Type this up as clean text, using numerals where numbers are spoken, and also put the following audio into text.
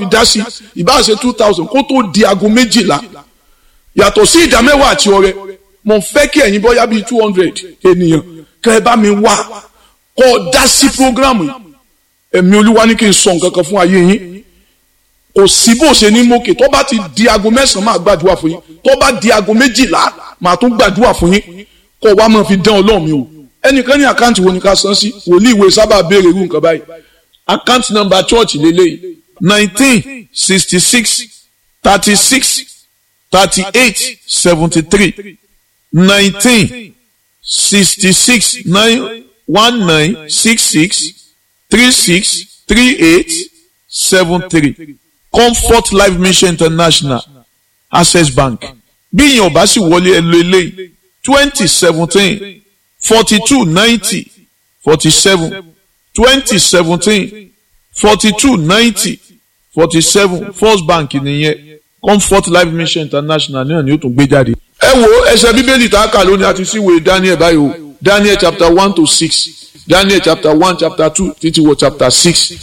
fi dá sí, ìbá ṣe 2,000 kó tó di aago 12. Yàtọ̀ sí ìdá mẹ́wàá àti ọrẹ, mo fẹ́ kí ẹ̀yin bọ́yá bíi 200 ènìyàn kẹ́ ẹ bá mi wá kọ́ ọ dá sí prógrámù yìí. Ẹ̀mí Olúwa ní kí n sọ nǹkan kan fún ayé yín. Kò sí bó ṣe ní mókè. Tó bá ti di aago 9 máa gbàdúrà fún yín, tó bá di aago 12 máa tún gbàdúrà fún yín. Kó wá máa fi dán Ọlọ́run mi wò. Ẹnìkan ní àkáǹtì wo ni ká san sí? Wòlíì ìwé sábà béèrè irú nǹkan báyìí. Àkáǹtì nọ́mbà church lélẹ́yìí: 1966 36 38 73. 1966, 9 1 9 6 6 3 6 3 8 7 3. Comfort Life Mission International, Access Bank. Bí ìyẹn ò bá sì wọlé, ẹ lo eléyìí: 2017 42 90 47. 2017 42 90 47, First Bank nìyẹn. Comfort Life Mission International náà ni ó tún gbé jáde. Ẹ wo ẹsẹ̀ Bíbélì tá a kà lónìí àti síwèé Daniel báyìí o. Daniel chapter 1 to 6, Daniel chapter 1, chapter 2 títí wọ chapter 6.